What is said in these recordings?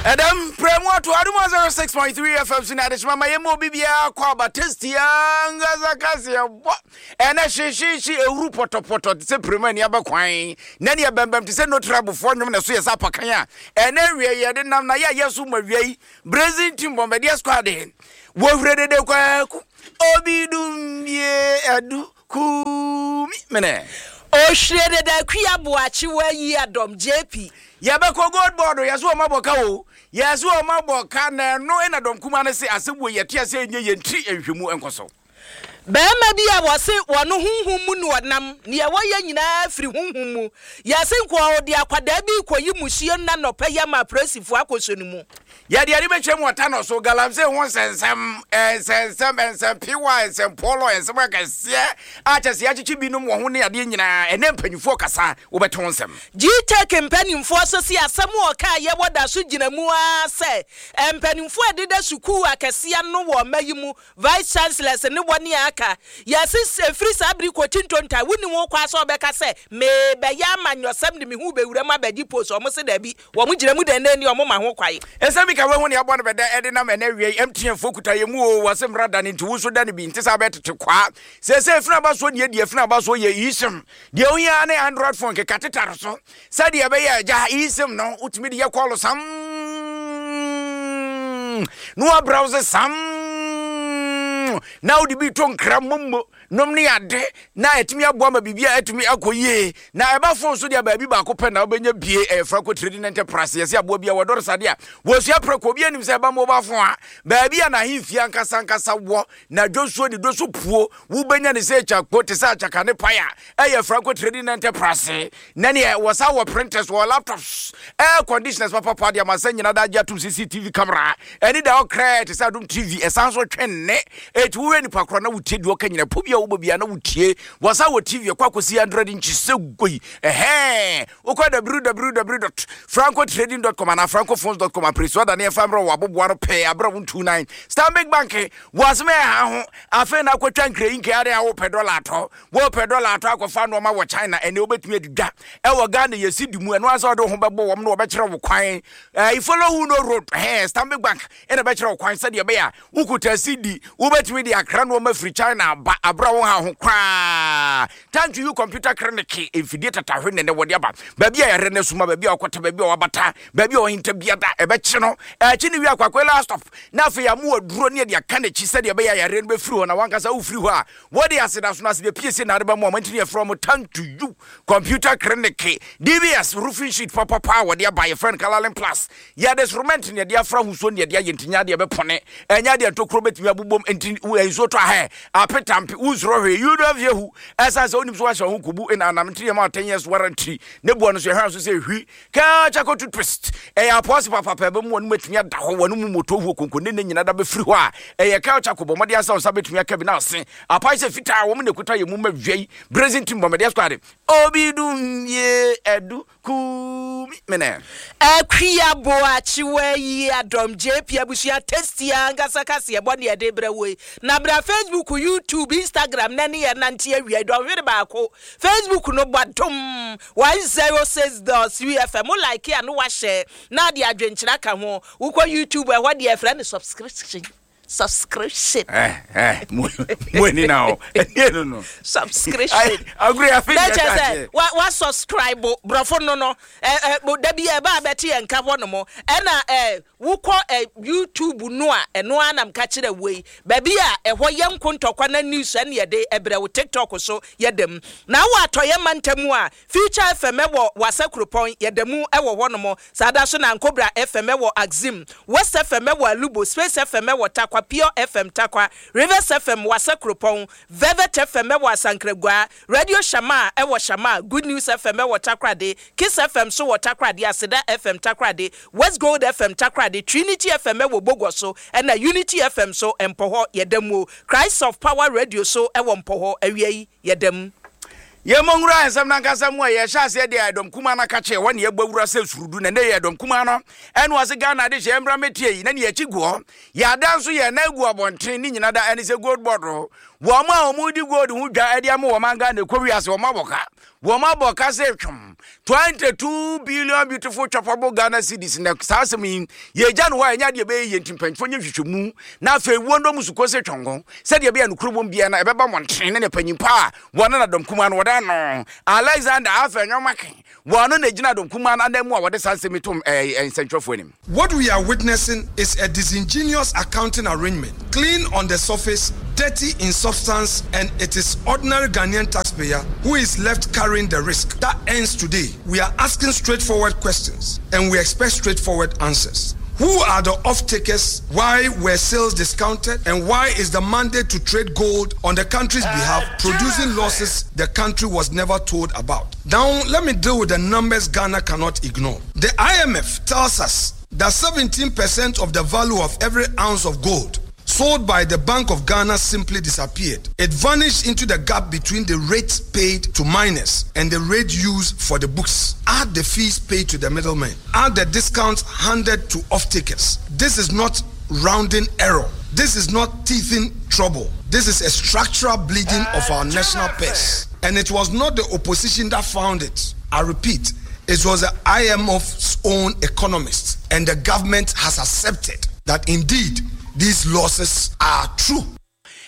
Ɛdɛm prɛmu ato Adom 106.3 FM so na adehyema ma yɛma obi biara kɔ aba tasty ankasa kaseɛ bɔ ɛnɛ hyehyehye ehuru pɔtɔpɔtɔ te sɛ prɛmu ani abɛkwan na ne ɛbɛmbɛm te sɛ notrabofoɔ nnwom na ɛso yɛ sɛ apakan a ɛnɛ wie yɛde nam na yɛ a yɛ so ma wia yi Brazil team bɔmbɛdeɛ squad wɔhwere dede kwaku obi dum bie adu Kumi mene. Ohwire deda Akua Boakye wayi adɔm JP. Yɛbɛkɔ gold board o, yɛse wɔn abɔ ka o, yɛse wɔn abɔ ka na ɛno na dɔm kumaa no se asɛm wei yɛte aseɛ ɛnyɛ yɛn tiri nhwɛmu nkɔ so. Barima bi a wɔse wɔno honhom mu na ɔnam, neɛ wɔyɛ nyinaa firi honhom mu. Yɛse nkoa ɔde akwadaa bi rekɔyi musuo nna nɔpa yi ama apolisifoɔ akɔsɔ ne mu. Yɛde ani bɛkyerɛ mu ɔta no so, galamsey ho nsɛnsɛm, nsɛnsɛm, nsɛmpewa, nsɛmpɔlɔ, nsɛm akɛseɛ a kyɛ sɛ yɛakyekye binom wɔ ho ne adeɛ nyinaa. Ɛnnɛ mpanimfoɔ kasa, wobɛte ho nsɛm. GTEC mpanimfoɔ nso se asɛm a ɔkaeɛ wɔ da so gyina mu ara sɛ mpanimfoɔ a ɛdeda sukuu akɛseɛ ano wɔ ɔma yi mu, Vice Chancellors ne wɔn a aka. Yɛse ɛfiri saa bere kɔkyi ntontan, wonni ho kwan sɛ wɔbɛka sɛ merebɛyɛ amanyɔsɛm de me ho rebɛwura mu abɛgye post, wɔn se daabi. Wɔn gyina mu dɛndɛn ni wɔn ma ho kwae. Nsɛm bi ka wei ho nea ɛbɔ no bɛdɛ ɛde nam ɛnɛ awia yi MTN foɔ kuta yɛn mu oo wɔse mmra dane nti wo nso dane bi nte saa bɛyɛ tete kwaa seesei funu aba soɔ deɛ deɛ funu aba soɔ yɛ eSIM deɛ ohia ara ne Android phone keka tetare so sɛdeɛ ɛbɛyɛ agya eSIM no wotumi de yɛ kɔɔlo sam na wa browse sam na wode bi to nkra mommo nom ne ade na atumi aboa ma biribi a atumi akɔ yie. Na ɛba fon so deɛ baabi baako pɛ na wobɛnya bie, ɛyɛ Franco Trading Enterprise. Yɛsɛ aboa bi a wɔdɔre sade a wɔsua prɛko. Obi anim sɛ ɛba mobile phone a, baabi a n'ahemfie ankasa ankasa wɔ, na dwonsuo ne doso puo, wobɛnya ne sɛ kyakpo te sɛ akyaka ne pae a, ɛyɛ Franco Trading Enterprise. Na neɛ wɔsa wɔ printers, wɔ laptops, air conditioners papapa de amansan nyina da agye atom CCTV camera ɛne da ɔkrɛ te sɛ Adom TV ɛsan so twe nne eti wohwɛ nipa korɔ na wotie deɛ ɔka nyina po bi a wobɔ bia na wotie wɔsa wɔ TV ɛkɔ akɔsi 100 inches sɛ goi ɛhɛn wokɔ www.francotrading.com anaa francophones.com apresu adane ɛfa mmerɛ wɔ aboboa no pɛɛ aberɛ wo ntu nan Stanbic Bank wɔ asɛm ɛha ho afei na akɔtwa nkrɛyi nkɛ ade a wopɛ dɔla atɔ Wopɛ dɔla atɔ akɔfa nnoɔma wɔ China ɛnɛ wobɛtumi adi dwa ɛwɔ Ghana yɛ sidi mu ɛno ara sɛ wode wo ho bɛbɔ wɔn na wɔbɛkyerɛ wo kwan eh, follow who no road eh, Stanbic Bank ɛna bɛkyerɛ wo kwan sɛdeɛ ɛbɛyɛ a wokuta sidi wobɛtumi de akra nnoɔma firi China aba aberɛ a wo ha ho koraa. Thank you computer clinic mfidie tatahwe nɛnɛ wɔde aba baabi a yɛrɛ no asuma baabi a wɔkɔta baabi a wɔabata baabi a wɔhinta biada ɛbɛkye no ɛkye ne wie akwakwela last stop na afei amu aduro ne ɛde aka n'akyi sɛdeɛ ɛbɛyɛ a yareɛ no bɛfiri hɔ na wankasa wofiri hɔ a Wɔde aseda sono aseda piesie na adeba mu a wɔntumi yɛfrɛ wɔn Thank to you Computer Clinic, DBS roofing sheet papapa a wɔde aba yɛfrɛ no Colourlin Plus. Yɛde soromɛnt na yɛde afra ahosuo na yɛde ayɛ nti nyɛ adeɛ bɛpɔne, ɛnyɛ adeɛ ntokuro bɛtumi abobom nti nsuo tɔ ahɛ apetampe wonsuro hwee you don't fear who ɛsan sɛ wonim so wahyɛ ho kubu na anam nti yɛma 10 years warranty ne boɔ no so yɛhwɛ so sɛ hwi Kaa charcoal toothpaste ɛyɛ apɔɔse papaapa ɛbɛmu wɔn mu atumi ada hɔ wɔn mu moto huo konko ne ne nyina da bɛfiri hɔ a ɛyɛ kaa charcoal bɔ mmɔden asɛ nsa bɛtumi aka bi na ase apae sɛ fitaa wɔn na ɛkuta yɛ mu ma wia yi brazen team bɔ mmɔden squad obi dum yie ɛdu kumi mene. Akua Boakye wayi adɔm JP abusua tasty ankasa kaseɛbɔ ne yɛde brɛ wo yi na bra Facebook YouTube Instagram na ne yɛ nante awia yi dɔnhwere baako Facebook no bɔ dom 106.3 FM wo like a no wa share na ade adwenkyerɛ aka ho wokɔ YouTube ɛhɔ deɛ ɛfrɛ no subscription subscription. Eh, eh, mo ani na o ɛni ɛnu no. Subscription. Agorɔ yɛ afei na kyerɛ sɛ wa wa subscribe borɔfo no no ɛ ɛ dabi ɛba abɛte yɛn nka hɔ nom ɛna ɛ Wokɔ ɛ YouTube no a, ɛno ara na meka kyerɛ wo yi. Baabi a ɛhɔ yɛ nko ntɔkwa na news ɛne yɛde ɛbrɛ wo TikTok so yɛda mu. Na wɔ atɔeɛ mantam mu a, Future FM ɛwɔ Wassa Kuropɔn, yɛda mu ɛwɔ hɔ nom. Saa da so na Ankobra FM ɛwɔ Axim, West FM ɛwɔ Alubo, Space FM ɛwɔ Tarkwa, Pure FM Tarkwa, Rivers FM Wassa Kuropɔn, Velvet FM ɛwɔ Asankragua, Radio Shamaa ɛwɔ Shamaa, Good News FM ɛwɔ Takoradi, Kiss FM nso wɔ Takoradi, Aseda FM Takoradi, West Gold FM Takoradi, Trinity FM wɔ Bogoso ɛna Unity FM nso Mpɔhɔ yɛda mu o. Christ of Power Radio so wɔ Mpɔhɔ, awia yi yɛda mu. Yɛmmɔ nwura nsɛm no ankasa mu a, yɛhyɛ aseɛ deɛ ɛdɔm kumaa no aka kyerɛ hɔ ne yɛbɔ awura sɛ surudu na ɛnɛ yɛ ɛdɔm kumaa no ɛne ɔse Ghana adehyeɛ mmra mmɛtie yi na ne yɛakyi gu hɔ yɛada nso yɛn nan gu abɔnten ne nyina da ɛne sɛ gold board wɔn a wɔn di gold ho dwa ɛde ama wɔn Ghana ɛkɔ wiase wɔn abɔ ka. Wɔn abɔ ka sɛ twom 22 billion beautiful choppable Ghana cedis na saa asɛm yi yɛgya no hɔ a ɛnyɛ adeɛ ɛbɛyɛ yie nti mpanyinfoɔ nyɛ nhwehwɛmu na afei wɔn dɔm sukɔ sɛ twɔngo sɛdeɛ ɛbɛyɛ nokorɛ wɔm biara na ɛbɛba mmɔntene ne ne panyin pa a wɔn na dɔm kumaa no wɔda no Alexander Afenyo-Markin wɔn no na gyina dɔm kumaa no anan mu a wɔde saa nsɛm yi tom ɛɛ nsɛntwerɛfoɔ anim. What we are witnessing is a disingenuous accounting arrangement, clean on the surface, dirty in substance, and it is ordinary Ghanaian taxpayer who is left carrying the risk. That ends today. We are asking straightforward questions and we expect straightforward answers. Who are the off-takers? Why were sales discounted? And why is the mandate to trade gold on the country's behalf producing losses the country was never told about? Now, let me deal with the numbers Ghana cannot ignore. The IMF tells us that 17% of the value of every ounce of gold sold by the Bank of Ghana simply disappeared. It vanished into the gap between the rates paid to miners and the rate used for the books. Add the fees paid to the middlemen. Add the discounts handed to off-takers. This is not rounding error. This is not teething trouble. This is a structural bleeding of our national purse. And it was not the opposition that found it. I repeat, it was the IMF's own economists, and the government has accepted that indeed these losses are true.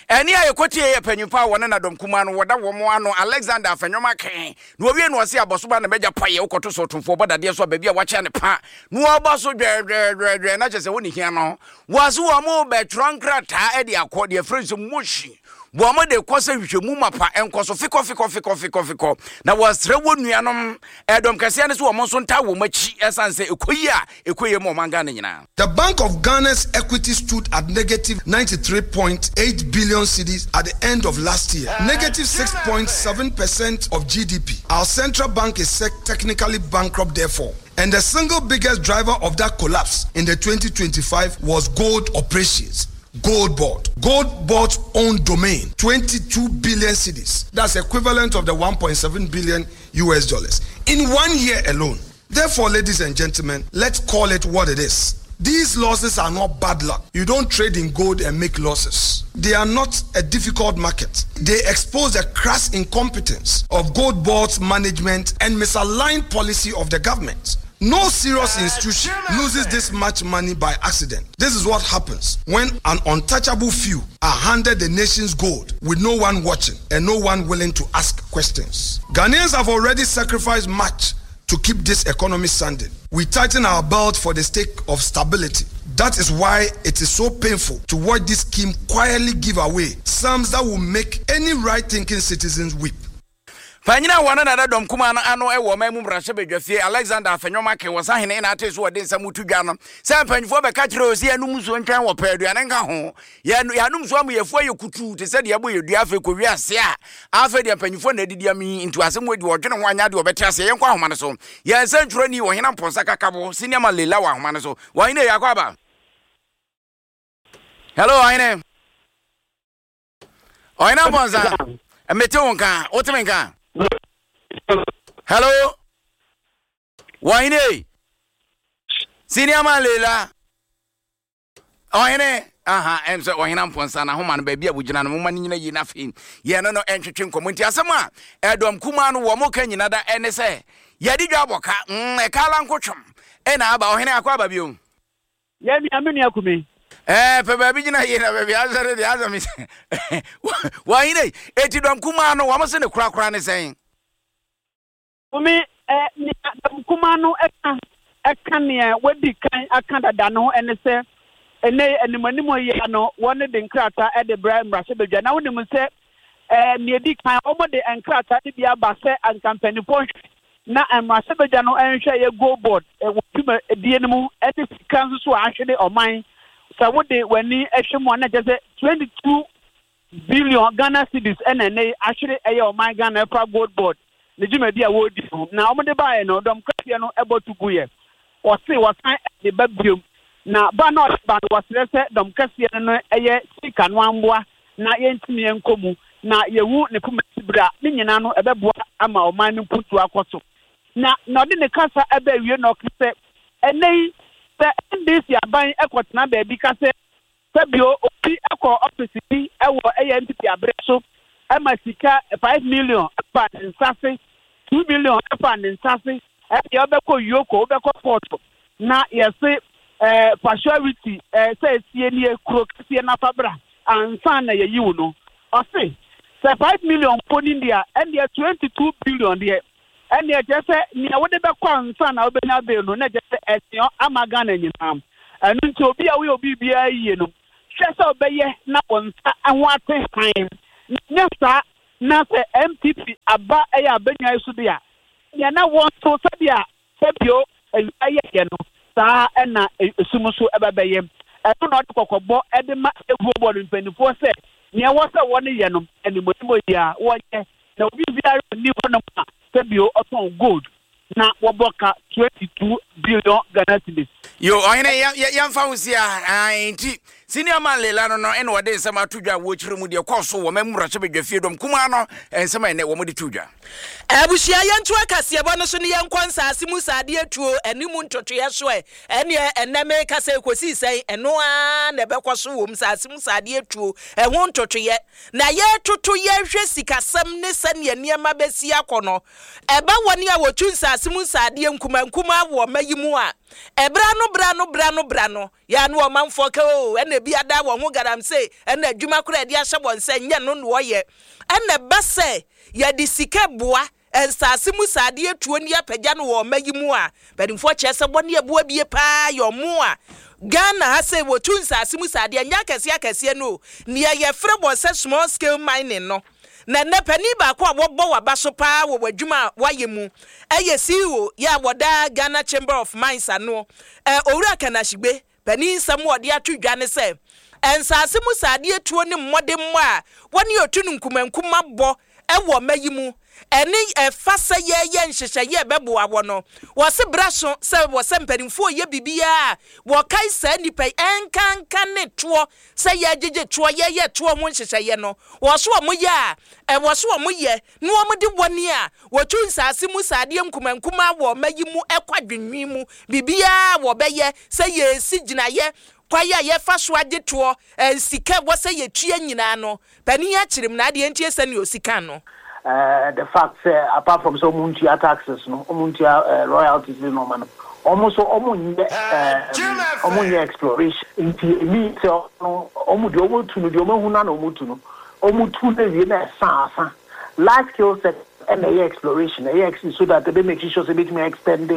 Ɛnne a yɛkɔtiee yɛ panyimfo a wɔne na dɔm kumaa no wɔda wɔn ano, Alexander Afenyo-Markin, na wɔwie no ɔse abɔsoba na m'agya paeɛ, wokɔto sɛ ɔtomfoɔ bɔ dadeɛ so a baabi a wakyea ne pa na wɔbɔ so dwɛɛdwɛɛdwɛɛ na kyerɛ sɛ wone hia no. Wɔse wɔn rebɛtwerɛ nkrataa de akɔ deɛ yɛfrɛ no sɛ motion. Wɔn de kɔ sɛ nhwehwɛmu mapa nkɔ so fekɔ fekɔ fekɔ fekɔ fekɔ na wɔsrɛ wɔn nuanom ɛdɔm kɛseɛ no sɛ wɔn nso ntaa wɔn akyi ɛsan sɛ ɛkɔ yie a ɛkɔ yie ma ɔman Ghana nyinaa. The Bank of Ghana's equity stood at negative 93.8 billion cedis at the end of last year, negative 6.7% of GDP. Our central bank is technically bankrupt, therefore. And the single biggest driver of that collapse in the 2025 was gold operations. Gold Board. Gold Board's own domain, 22 billion cedis. That's equivalent of the 1.7 billion US dollars in one year alone. Therefore, ladies and gentlemen, let's call it what it is. These losses are not bad luck. You don't trade in gold and make losses. They are not a difficult market. They expose the crass incompetence of gold board's management and misaligned policy of the government. No serious institution loses this much money by accident. This is what happens when an untouchable few are handed the nation's gold with no one watching and no one willing to ask questions. Ghanaians have already sacrificed much to keep this economy standing. We tighten our belt for the sake of stability. That is why it is so painful to watch this scheme quietly give away sums that will make any right thinking citizens weep. Panyin a wɔne Nana Dɔm Kumaa no ano wɔ ɔman mu mmarahyɛbadwafie, Alexander Afenyo-Markin, wɔ Sahene na atee so wɔde nsɛm to dwa no sɛ mpanyinfoɔ bɛka kyerɛ ɔsi yɛnom nsuo ntwɛn wɔ pɛ aduane nka ho. Yɛn yɛanom nsuo ama yɛfu ayɛ kutuu te sɛ deɛ ɛbɔ yɛ dua afei kɔwie ase a afei deɛ mpanyinfoɔ na adidi ami nti asɛm wɔ di wɔdwene ho anyɛ adeɛ wɔbɛte aseɛ. Yɛnkɔ ahoma no so. Yɛn nsɛntwerɛni Ɔhene Amponsah Kakabo, Senior Man Leila wɔ ahoma no so. Ɔhene yɛakɔ aba. Hello Ɔhene. Ɔhene Amponsah, mete wo nka, wote me nka? Hello. Ɔhene. Senior Man Leila. Ɔhene, aha, ɛm sɛ Ɔhene Amponsah n'ahoma no baabi a wogyina no, momma no nyina yie na afei yɛne no ntwetwe nkɔmmɔ. Nti asɛm a ɛdɔm kumaa no wɔn ka nyina da ɛne sɛ, yɛde dwa abɔ ka, mm, ɛka ala nkotwom ɛna aba. Ɔhene akɔ aba bio. Yɛ nua, me nua Kumi. Ɛɛ, pɛ baabi gyina yie na baabi asɛ no deɛ asɛ me sɛ wɔhene, eti dɔm kumaa no wɔn se ne korakora ne sɛn? Home ɛ, nea dɔm kumaa no ka ka nea wɔadi kan aka dada no ho ne sɛ, ɛnnɛ yi animanim yi ara no, wɔde nkrataa de brɛ mmarahyɛbadwa. Na wonim sɛ ɛ, nea edi kan, wɔde nkrataa no bi aba sɛ anka mpanimfoɔ nhwɛ na mmarahyɛbadwa no nhwɛ yɛ Gold Board wɔ dwumadie no mu ne sika nso so a ahwere ɔman. Sɛ wode w'ani hwɛ mu a, na kyerɛ sɛ 22 Billion Ghana cedis na ɛnnɛ yi ahwere ɛyɛ ɔman Ghana ɛfa Gold Board ne dwumadi a wɔredi ho. Na wɔde baeɛ no, dɔm kɛseɛ no bɔ to guiɛ. Wɔse wɔsan de ba biom. Na ba no a ɔde ba no, wɔsrɛ sɛ dɔm kɛseɛ no no ɛyɛ sika no amboa na yɛntumi nkɔ mu. Na yɛhu ne poma sibire a, ne nyinaa no ɛbɛboa ama ɔman no mpuntuo akɔ so. Na na ɔde ne kasa ɛbɛ awie na ɔka sɛ, ɛnnɛ yi sɛ NDC aban kɔtena baabi ka sɛ Sɛ bio, obi kɔ ɔfese bi wɔ ɛyɛ NPP aberɛ so ma sika 5 million ba ne nsa ase. 2 million ɛfa ne nsa ase. Ɛdeɛ wobɛkɔ yoko, wobɛkɔ court na yɛse fa surety sɛ esie nie kuro kɛseɛ nafa bra ansa na yɛyi wo no. Ɔse sɛ 5 million mpo ni deɛ a, ɛndeɛ 22 billion deɛ, ɛndeɛ kyerɛ sɛ nea wode bɛkɔ ansa na wobɛnya bail no, na kyerɛ sɛ ɛseɛ ama Ghana nyinaa. Ɛno nti obi a woyɛ obi biara yie no, hwɛ sɛ wobɛyɛ na wo nsa ho ate hann. Na nyɛ saa na sɛ NPP aba ɛyɛ abɛnwa yi so de a, nea na wɔn nso sɛdeɛ sɛbio awia yɛyɛ no, saa ɛna esum nso ɛbɛbɛyɛ. Ɛno na ɔde kɔkɔbɔ ɛde ma eguo bɔ no mpanimfoɔ sɛ nea ɛwɔ sɛ wɔn yɛ no animonimo yi a wɔnyɛ, na obi biara nni hɔnom a sɛbio ɔtɔn gold na wɔbɔ ka 22 billion Ghana cedis. Yo, ɔhene, yɛmfa wo si a. Nti Senior Man Lela no ɛna wɔde nsɛm ato dwa a wɔkyerɛ mu deɛ kɔɔ so wɔ ma mmarahyɛ badwa fie dɔm kumaa no, nsɛm a ɛnɛ wɔde to dwa. Abusua, yɛnto akaseɛbɔ no so ne yɛnkɔ nsaase mu saadeɛ tuo ɛne mu ntotoeɛ so ɛ. Ɛneɛ ɛnnɛ meka sɛ ɛkɔsii sɛn, ɛno ara na ɛbɛkɔ so wɔ mu, nsaase mu saadeɛ tuo ɛho ntotoeɛ. Na yɛretoto yɛrehwɛ sikasɛm ne sɛdeɛ nneɛma bɛsi akɔ no, ɛba wɔn a wɔtu nsaase mu nsaadeɛ nkumaa wɔ ɔma yi mu a, ɛberɛ ano berɛ ano berɛ ano berɛ ano, yɛ ano ɔmanfoɔ ka o, ɛna ebi ada wɔn ho galamsey, ɛna adwuma koraa yɛde ahyɛ wɔn sɛ nyɛ no na wɔyɛ. Ɛna ɛba sɛ yɛde sika boa nsaase mu saadeɛ tuo ne apagya no wɔ ɔma yi mu a, mpanimfoɔ kyerɛ sɛ wɔne ɛboa bie paa yɛ ɔmo a Ghana ha sɛ wɔtu nsaase mu saadeɛ nyɛ akɛseɛ akɛseɛ no o, nea yɛfrɛ wɔn sɛ small scale mining no. Na nnɛ panin baako a wɔbɔ waba so paa wɔ w'adwuma a wayɛ mu ɛyɛ CEO yɛ a wɔda Ghana Chamber of Mines ano, Owura Ken Ashigbey. Panin nsɛm a ɔde ato dwa ne sɛ nsaase mu saadeɛ tuo ne mmɔdemmɔ a wɔne otu no nkumankuma bɔ ɛwɔ ɔma yi mu ɛne ɛfa sɛ yɛyɛ nhyehyɛeɛ ɛbɛboa wɔ no. Wɔse bra so sɛ wɔ sɛ mpanimfoɔ yɛ biribiara a wɔkae saa nnipa yi ɛnkanka ne toɔ sɛ yɛgyegye toɔ, yɛyɛ toɔ ho nhyehyɛeɛ no, wɔ so wɔn yɛ a ɛwɔ so wɔn yɛ na wɔn de wɔne a wɔtu nsaase mu saadeɛ nkumankuma wɔ ɔma yi mu ɛkɔ adwenwi mu biribiara wɔbɛyɛ sɛ yɛsi gyinaeɛ kwan a yɛfa so agye toɔ, sika ɛwɔ sɛ yɛtua nyinaa no. Panin akyerɛ mu na adeɛ ntie sɛnea osi kan no. The fact sɛ apart from sɛ ɔmo ntua taxes no, ɔmo ntua royalties ne nneɛma no, ɔmo nso ɔmo nyɛ exploration. Nti emi sɛ ɔno ɔmo deɛ ɔmo tu no, deɛ ɔmo ehu na ɔmo tu no, ɔmo tu na ewie na ɛsa asa. Large scale sector ɛna ɛyɛ exploration, ɛyɛ so that ɛbɛ make sure sɛ ebetumi extend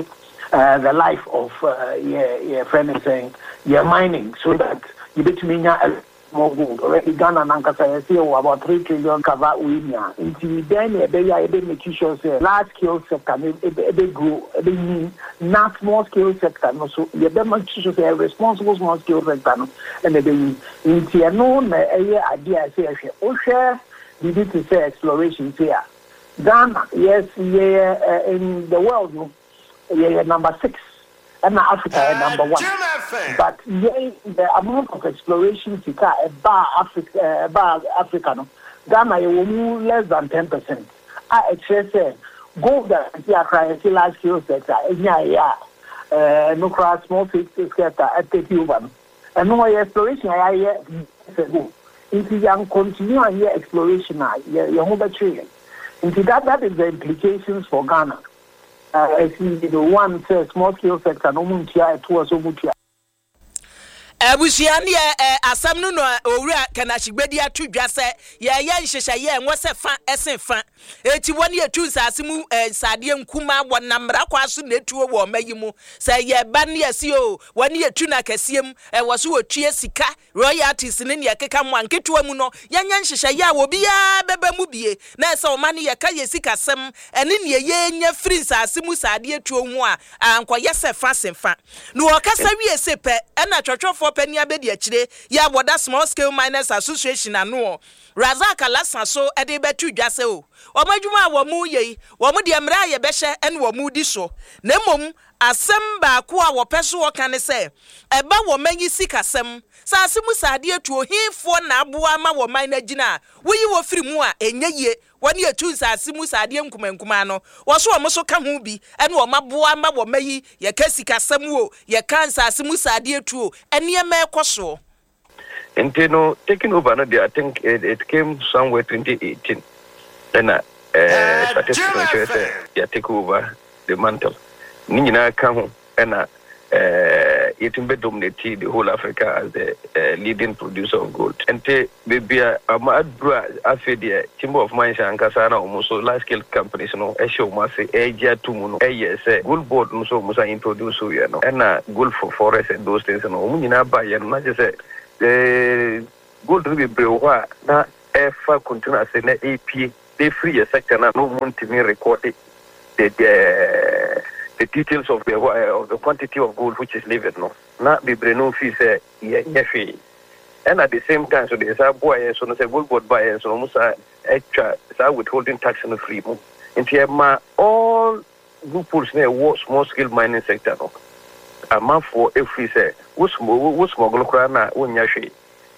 the life of yɛ friend sɛn yɛ mining so that yɛbɛtumi nya more gold. Already Ghana nankasa yɛsɛ yɛwɔ about 3 trillion cover wei nia. Nti dɛn na ɛbɛyɛ a yɛbɛ make sure sɛ large scale sector no ɛbɛ grow, ɛbɛ nyin, na small scale sector no so yɛbɛ make sure sɛ responsible small scale sector no ɛna ɛbɛyi. Nti ɛno na ɛyɛ adeɛ a ɛsɛ yɛhwɛ. Wohwɛ biribi te sɛ exploration sei a, Ghana, yes, yɛyɛ in the world no yɛyɛ number six, ɛna Africa yɛ number one, but yɛn the amount of exploration sika a ɛbaa Africa no, Ghana yɛwɔ mu less than 10%, a ɛkyerɛ sɛ gold a ɛsi akra yɛsi large scale sector ɛnya ɛyɛ a ɛno koraa small scale sector ɛtake over no, ɛno ɔyɛ exploration a yɛayɛ years ago. Nti yɛn continue anyɛ exploration a, yɛn ho bɛkyerɛ yɛn. Nti that is the implications for Ghana. Ɛsi one sɛ small scale sector no, ɔmo ntua ɛtoɔ sɛ ɔmo tua. Abusua, ne yɛ asɛm no no Owura Ken Ashigbey de ato dwa sɛ yɛyɛ nhyehyɛeɛ ɛnwɔ sɛ fa ɛsen fa. Eti wɔn yɛtu nsaase mu nsadeɛ nkuma wɔ namra kwa so na etuo wɔ ɔma yi mu sɛ yɛba ne yɛsi o, wɔn yɛtu no akɛseɛ mu ɛwɔ so wɔtua sika royalties ne nea ɛkeka ho a, nketewa mu no yɛnyɛ nhyehyɛeɛ a obiara bɛba mu bie. Na ɛsɛ ɔma no yɛka yɛ sikasɛm ɛne nea yɛnya firi nsaase mu saadeɛ tuo ho a, ankɔyɛ sɛ fa sen fa. Na wɔkasa wie se pɛ, ɛna twɔtwɔfoɔ panin abɛdi akyire yɛ a wɔda Small Scale Miners Association ano, Razak Alhassan, so ɛde bɛto dwa sɛ o, wɔn adwuma a wɔn yɛ yi, wɔn deɛ mmerɛ a yɛbɛhyɛ ɛne wɔn di so. Na mmom asɛm baako a wɔpɛ so wɔka ne sɛ ɛba wɔn manyi sikasɛm saase mu saadeɛ tuo hefoɔ na aboa ama wɔn man no agyina a, woyi wɔ firi mu a ɛnyɛ yie. Wɔne etu nsaase mu saadeɛ nkumankumaa no, wɔso wɔn so ka ho bi ɛne wɔn aboa ama wɔn ayi. Yɛka sikasɛm o, yɛka nsaase mu saadeɛ tuo, nneɛma ɛkɔ soɔ. Nti no taking over no deɛ, I think it came somewhere 2018 ɛna. Eh, statistics no kyerɛ sɛ yɛ take over the mantle. Ne nyinaa ka ho ɛna eh, yɛtumi bɛ dominate the whole Africa as the eh, leading producer of gold. Nti baabi a ama aduru a afei deɛ Chamber of Mines ankasa na wɔn nso large scale companies no ɛhyɛ wɔn ase ɛregye ato mu no ɛyɛ sɛ gold board no nso wɔn san introduce yɛ no ɛna gold for forest and those things no wɔn nyinaa ba yɛ no na kyerɛ sɛ eh, gold no bebree wɔ hɔ a na ɛfa kuntun ase na ɛrepue na ɛfiri yɛ sector no a na wɔn ntumi rekɔde the the the details of the of the quantity of gold which is leaving no na bebree no fii sɛ yɛnyɛ hwee ɛna the same time so deɛ saa boa yɛn so no sɛ gold board ba yɛn so no wɔn saa atwa saa withholding tax no firi mu nti ɛma all loopholes na ɛwɔ small scale mining sector no amanfoɔ ɛfiri sɛ wo wo smuggle koraa na wonnya hwee.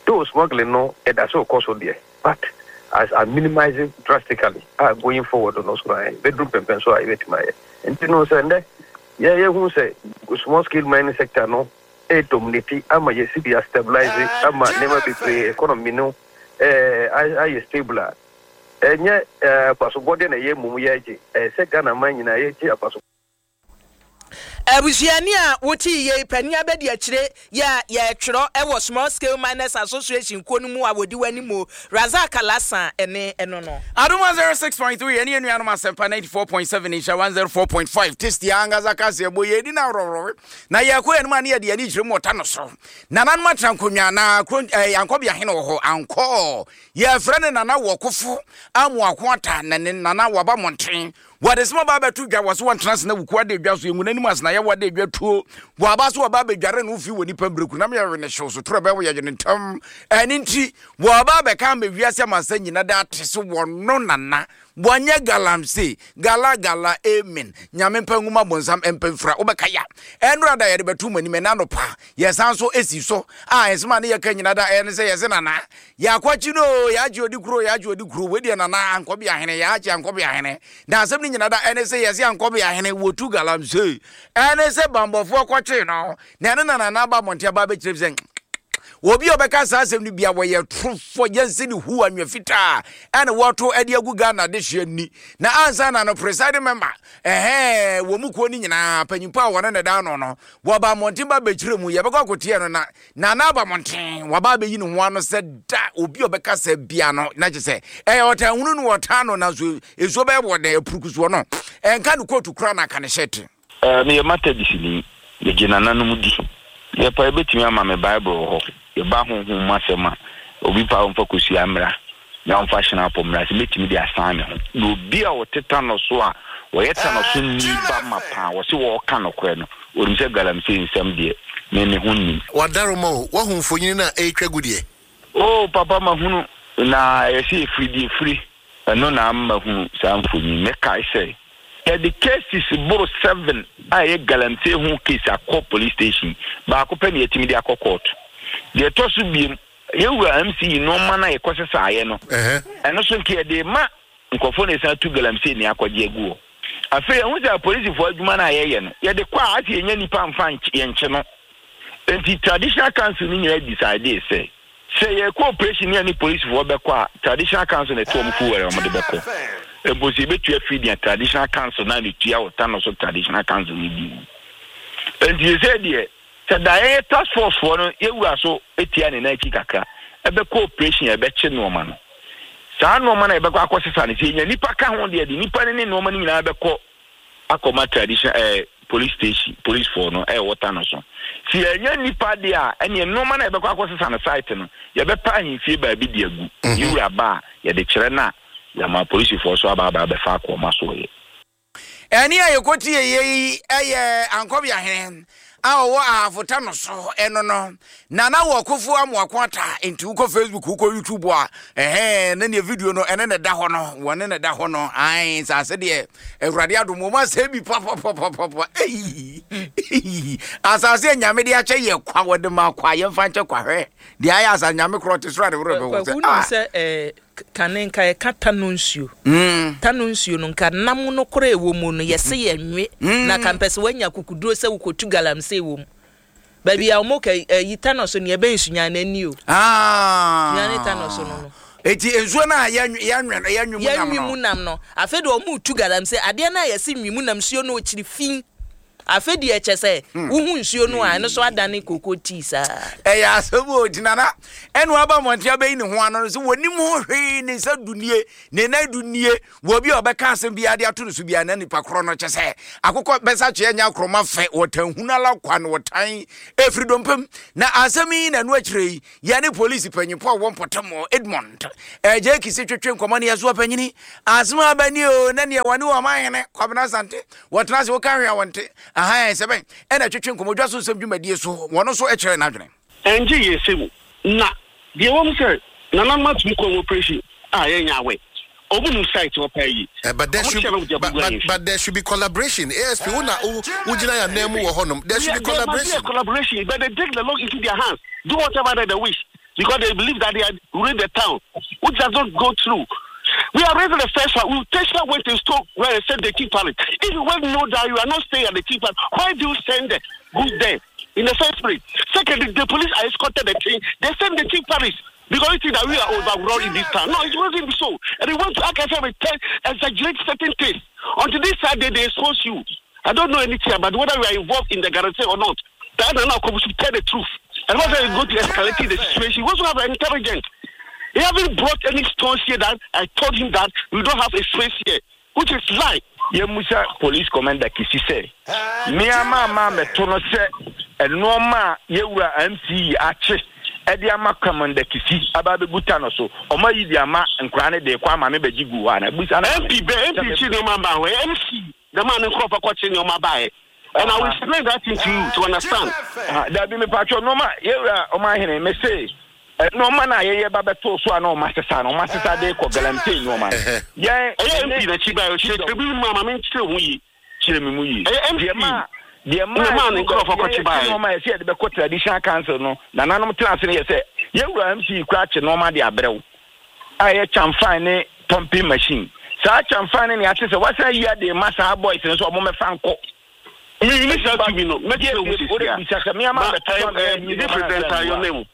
Though smuggling no ɛda so rekɔ so deɛ, but as a minimize drastically a going forward no so no ɛbɛduru mpɛmpɛnso a yɛbɛtumi ayɛ. Nti no sɛ nnɛ yɛ yɛhu sɛ small scale mining sector no ɛredominate ama yɛ cedi astabilize ama nneɛma bebree economy no ɛɛ ayɛ stable a, ɛnyɛ abasobɔdeɛ na ɛyɛ mmom yɛregye, ɛyɛ sɛ Ghana man nyinaa yɛgye abasobɔdeɛ. Abusuani a wotee yei panin abadiakyire yɛ a yɛtwerɛ wɔ Small Scale Miners Association kuo no mu a wɔdi w'anim Razak Alhassan ne ɛno no. Adom 106.3 ɛne anuanom Asɛmpa 94.7 Nhyira 104.5 Tasty ankasa kaseɛbɔ yɛdi no aworɔworɔwe na yɛkɔ yɛn anim a ne yɛde yɛn ani kyerɛ mu ɔta no so. Nananom atena nkonnwa na kuro eh, Ankɔbea hene wɔ hɔ ankɔ yɛfrɛ no Nana Wɔkofo Amoako Ata na ne Nana waba mmɔnten Wɔde soma ba abɛto dwa, wɔ so wɔntena ase na wukuo ada dwa so, yɛngu n'anim ase na yɛwɔ ada dwa tuo. Wɔaba so wɔba abɛdware no fi wɔ nipa mmireku nam yɛwe ne hyew so toro ɛbɛwo yɛgye ne ntam. Ɛno nti, wɔaba abɛka ama wiase amansan nyina da ate so wɔno nana. Wɔnyɛ galamsey, gala gala, amen. Nyame mpa nwuma bonsam mpa mfira, wobɛka ya. Ɛnora da yɛde bɛto mo anim, ɛna anɔpa yɛsan so esi so a nsɛm a ne yɛka nyina da ɛne sɛ yɛse nana Yɛakwakye no oo, yɛagye odi kuro, yɛagye odi kuro. Wei deɛ nana Ankɔbea hene, yɛagye Ankɔbea hene. Na asɛm no nyina da ɛne sɛ yɛse Ankɔbea hene wɔtu galamsey. Ɛne sɛ bambɔfoɔ kɔkyee no. Na ɛno na nana aba abɔnten aba abɛkyerɛ sɛ obi a ɔbɛka saa asɛm no bia wɔyɛ torofo yɛnse ne hu anwea fitaa ɛne wɔto ɛde agu Ghana dehyeɛ ni. Na ansa na no presiding member ɛhɛɛ wɔ mu kuo no nyinaa panyimpa a wɔne ne da ano no wɔba mmɔnten ba bɛkyerɛ mu yɛbɛkɔ akɔteɛ no na Nana aba mmɔnten, waba abɛyi ne ho ano sɛ da obi a ɔbɛka sɛ bia no, na kyerɛ sɛ ɛyɛ ɔtanhunu no wɔtaa no, nanso nsuo bɛyɛ wɔ dɛn apurukusuo no, ɛnka ne kootu koraa na aka ne hyɛte. Eh, meyɛ Methodistni. Megye nananom di. Yɛpa yɛbɛtumi ama me Bible wɔ hɔ. Yɛba honhom mu asɛm a, obi pa a ɔmfa kosua mmra na ɔmfa hyenapo mmra sɛ mɛtumi de asan me ho. Na obi a ɔte Tanɔ so a ɔyɛ Tanɔ so ni ba mapa a ɔse ɔɔka nokorɛ no, ɔnim sɛ galamsey nsɛm deɛ, me me ho nnim. W'adaroma o, woahu mfonini no a ɛretwa gu deɛ? Oh papa mahunu, na ɛyɛ sɛ ɛfiri deɛ ɛfiri, ɛno na ama mahunu saa mfonini. Mɛkae sɛ yɛde cases boro seven a ɛyɛ galamsey ho case akɔ police station, baako pɛ na yɛatumi de akɔ court. Deɛ ɛtɔ so biem, Yɛn wura MC yi nnoɔma no a yɛkɔsesaeɛ no, ɛno nso nka yɛde rema nkurɔfoɔ na ɛsan tu galamsey ne akɔgye agu hɔ. Afei yɛhu sɛ apolisifoɔ adwuma no a yɛyɛ no, yɛde kɔ a asɛ yɛnya nnipa mfa yɛnkye no. Enti traditional council no nyinaa decidee sɛ, sɛ yɛrekɔ operation ne yɛne polisifoɔ bɛkɔ a, traditional council na ɛto wɔn fuel a wɔde bɛkɔ. Mpo sɛ yɛbɛtua fee deɛ traditional council no a na ɛtua wɔ Tano so traditional council no bi. Enti seesei deɛ, Sɛ da yɛyɛ task force foɔ no yɛ wura so tia ne nan akyi kakra ɛbɛkɔ operation a ɛbɛkye nnoɔma no. Saa nnoɔma no a yɛbɛkɔ akɔ sesa no sɛ yɛnya nipa ka ho deɛ de nipa no ne nnoɔma no nyinaa bɛkɔ akɔma tradition ɛɛ eh, police station police foɔ no ɛwɔ ta no so. Sɛ yɛnya nipa deɛ a ɛneɛ nnoɔma no a yɛbɛkɔ akɔ sesa no site no yɛbɛpa ahemfie baabi de agu. Mhm. Yɛ wura ba a yɛde kyerɛ no a yɛama polisifoɔ so aba aba abɛfa akɔ ɔma so yɛ. Ɛnne a yɛkɔtieeɛ yi yɛ Ankɔbea hene a ɔwɔ Ahafo Tano so ɛno no. Nana wɔ Kofo Amoako Ata nti wokɔ Facebook wokɔ YouTube a ɛhɛn ne neɛ video no ɛne ne da hɔ no wɔne ne da hɔ no ae nsase deɛ Awurade adom wɔn asɛe bi papapapapa eyi asase a Nyame de akyɛ yɛ kwa wɔde ma kwa yɛmfa nkyɛ kwa hwɛ deɛ ayɛ asase Nyame korɔ te soro a ne werɛ bɛho sɛ ah sɛ eh, Kane nka yɛka tano nsuo. Tano nsuo no nka nam no koraa ɛwɔ mu no yɛse yɛ nwe na ka mpɛ sɛ wanya akukuduro sɛ wokɔtu galamsey wɔ mu. Baabi a wɔn ka yi tano so nea ɛbɛn Sunyani ani o. Sunyani tano so no no. Eti nsuo no a yɛnwe yɛnwe no yɛnwe mu nam Yɛnwe no. mu nam no. Afei deɛ wɔn retu galamsey. Adeɛ no a yɛse nwe mu nam nsuo no ɔkyiri fi. Afei deɛ kyɛ sɛ wohu nsuo no a ɛno nso adane koko tea saa. Ɛyɛ asɛm o, nti Nana ɛna waba mmɔnten abɛyi ne ho ano no sɛ wɔnim ho hwee, ne nsa du nie, ne nan du nie, wɔ obi a ɔbɛka asɛm biara de ato ne so biara na nipa korɔ no kyɛ sɛ akokɔ bɛsa kyeɛ nyɛ akorɔma fɛ, wɔtan hunu ala kwa na wɔtan ɛfiri dompe mu. Na asɛm yi na ɛno akyire yi Yɛne polisi panyimfo a wɔwɔ mpɔtam hɔ, Edmond Adjei Kisi twetwe nkɔmmɔ ne yɛn so ɔpanyini. Asɛm aba ni o, na neɛ wɔne wɔn ahene, Kwabena Asante, wɔtena ase woka hwee a wɔnte. Ahan, sɛ bɛn ɛna twetwe nkɔmmɔ dwa so nsɛm dwumadie so, wɔn nso kyerɛ n'adwene. Ɛngye yɛn sɛ mu na deɛ ɛwɔ mu sɛ nananom atum kɔ operation a yɛnyɛ aware. Ɔmo nim site hɔ paa yie. Eh, but there Ɔmo should kyerɛ me deɛ but, ɔmo but, yɛ. but there should be collaboration. ASP, wo na wo wo gyina yɛn anan mu wɔ hɔnom. There should be There must be a collaboration. collaboration, but they take the law into their hands, do whatever that they wish, because they believe that they are ruling the town, which does not go through. We are raising the first one. We Tesla went and stole where they sent the chief palace. If you well know that you are not staying at the chief palace, why do you send the goods there in the first place? Secondly, the police are escorted the thing. They send the chief palace. Because you think that we are overrun in this town. No, it wasn't so. And they want to act as if exaggerate certain things. Until this Saturday, they expose you. I don't know anything about whether we are involved in the guarantee or not. That now should tell the truth. And whether you go to escalating the situation, we also have intelligence. He haven't brought any stones here that I told him that we don't have a space here, which is lie. Yɛmmisa Police Commander Kisi sɛ, Me ara mamma ammɛto no sɛ nnoɔma a yɛn wura MC akye de ama Commander Kisi aba abɛgu ta no so, wɔayi de ama nkwadaa no de rekɔ ama me bɛgye guu hɔ anaa? Bisa no ma me. MP bɛ Sɛ MP me. kye nneɛma baa hɔ ɛ MC na maa ne nkurɔfoɔ kɔkye nneɛma baeɛ and I will explain that thing to you to understand. Aha, dabi mepatwɔ nneɛma yɛwura ɔmanhene mese nneɛma no a yɛyɛ ba bɛtoo so a na ɔma sesa no ɔma sesa de kɔ galamsey nneɛma no yɛn Ɛyɛ ne MP n'akyi baeɛ ɔkyerɛkyerɛ bi mu ama menkyerɛ ho yie. kyerɛ me mu yie Ɛyɛ deɛ MP maa deɛ na maa maa ne yɛdu nkurɔfoɔ baabi kɔkye yɛyɛ kye baeɛ. nneɛma a yɛsɛ yɛde bɛkɔ traditional council no nananom tena ase no yɛ sɛ yɛwura MC kora kye nneɛma de abrɛ wo a ɛyɛ kyamfan ne pumping machine. Saa kyamfan ne nea ate sɛ wasan ayi ade ma saa boys no sɛ ɔmo mɛfa nkɔ. Mi ni saa tumi no, mɛkyerɛ wo Wode sisi a. bisa sɛ me ama Ma bɛtɔ ɛɛ ma ɛɛ me ne presenter your name.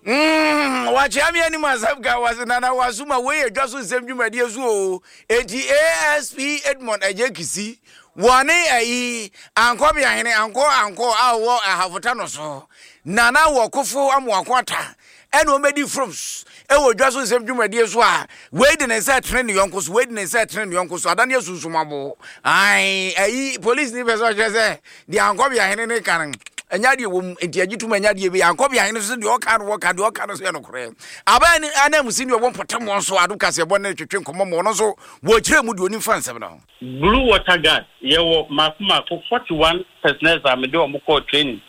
Wakyea me anim asɛm ka wase nana wasoma wei yɛ dwa so nsɛm dwumadie so o. Enti ASP Edmond Agye Kisi wɔne ayi Ankɔbeahene Ankɔ Ankɔ a ɔwɔ Ahafota no so Nana wɔ Kofo Amoako Ata ɛna wɔn bɛdi frums ɛwɔ dwa so nsɛm dwumadie so a wei de ne nsa ɛtene ne yɔnko so wei de ne nsa ɛtene ne yɔnko so adane asunsum abo ae ayi polisi ni pɛ sɛ ɔkyerɛ sɛ deɛ Ankɔbeahene ne ka no ɛnyɛ adeɛ wɔ mu nti agye tum ɛnyɛ adeɛ bi Ankɔbeahene so deɛ ɔka no wɔka deɛ ɔka no so yɛ nokorɛ aban ne ananmusi ne ɔwɔ mpɔtam wɔn so ado kaseɛbɔ ne twetwe nkɔmmɔ ma ɔno nso wɔkyerɛ mu deɛ onim fa nsɛm no ho. Blue Water Guard, Yɛwɔ mmaako mmaako 41 personnels a mede wɔn kɔɔ training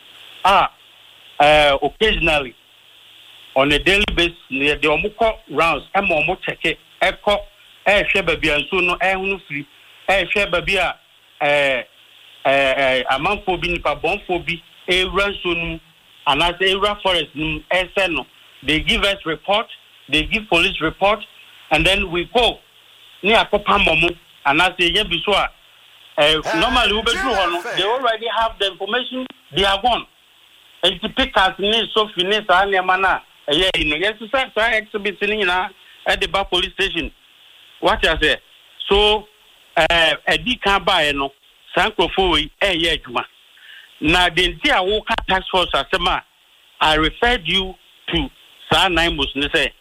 a occasionally on a daily basis no yɛde wɔn kɔ rounds ma wɔn kyɛke kɔ rehwɛ baabi a nsuo no rehono firi, rehwɛ baabi a amanfoɔ bi, nnipa bɔnfoɔ bi rewura nsuo no mu anaasɛ rewura forest no mu resɛe no. They give us report, they give police report and then we go ne akɔpam wɔn anaasɛ yɛnya bi so a, normally wobɛduru hɔ no, they already have the information, they are gone. Nti pickaxe ne sofi ne saa nneɛma no a ɛyɛ yi no, yɛsesa saa exhibits no nyinaa de ba police station. Wate aseɛ? So ɛdi kan baeɛ no, saa nkurɔfoɔ wei ɛreyɛ adwuma. Na deɛ nti a woka task force asɛm a I referred you to saa NAIMOS no sɛ,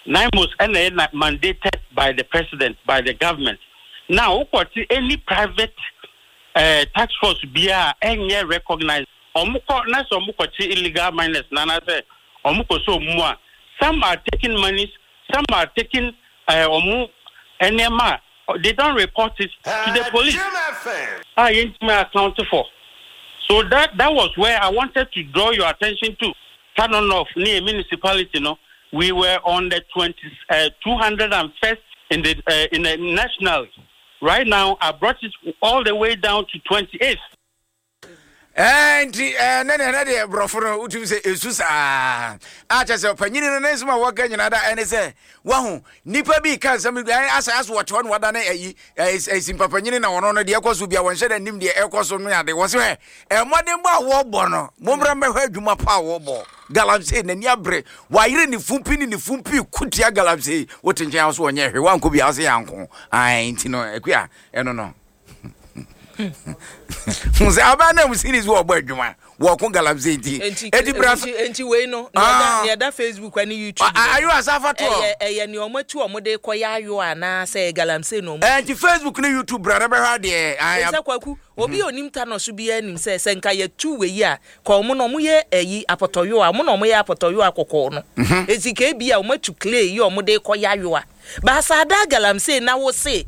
NAIMOS na ɛyɛ mandated by the president, by the government. Now wokɔte any private eh, task force biara a ɛnyɛ recognized, wɔn kɔ na sɛ wɔn kɔkye illegal miners no anaasɛ wɔn kɔ sɛ wɔn mu a, some are taking monies, some are taking eh, wɔn nneɛma a they don't report it to the police a yɛntumi account for. So that that was where I wanted to draw your attention to. Tano North ne municipality no, we were on the 20, 201st in the in the national. Right now, I brought it all the way down to 28th. Ɛɛ nti ɛɛ ne deɛ ne deɛ borɔfo no wotumi sɛ esu saa a kyɛ sɛ ɔpanyini no ne nsɛm a wɔka nyinaa da ɛne sɛ wahu nipa bi ka nsɛm bi ɛɛ asɛ asɛ wɔte hɔ na wada ne ɛyi ɛɛ ɛsi panyini na wɔn no deɛ ɛkɔ so bia wɔnhyɛ dɛ nim deɛ ɛkɔ so no ade wɔ so ɛ ɛmmɔdenbɔ a wɔbɔ no mommra mmɛhwɛ adwuma pa a wɔbɔ. Galamsey n'ani abere, wayere ne fumpi ne ne fumpi ko tia galamsey. Wote nkyɛn a wo so ɔnyɛ hwee, woankɔ bi a wo se yɛanko. Ae, nti no Akua, ɛno no. Hu sɛ aban na mu series wɔ ɔbɔ adwuma wɔko galamsey nti. Enti bra so. Enti wei no, ah. nea ɛda Facebook ne YouTube. Ayo asafa to. Ɛyɛ ɛyɛ nea wɔn atu wɔn de kɔ yɛ ayo anaa sɛ galamsey na wɔn. Enti Facebook ne YouTube bra na bɛhwɛ adeɛ. Sɛ Kwaku, obi a onim Thanos biara nim sɛ sɛ nka yɛtu wei a, ka wɔn na wɔyɛ ayi apɔtɔyowa, wɔn na wɔyɛ apɔtɔyowa kɔkɔɔ no. Enti ka ebi a wɔatu clay yi a wɔde rekɔyɛ ayowa. Baasa ada galamsey na wose.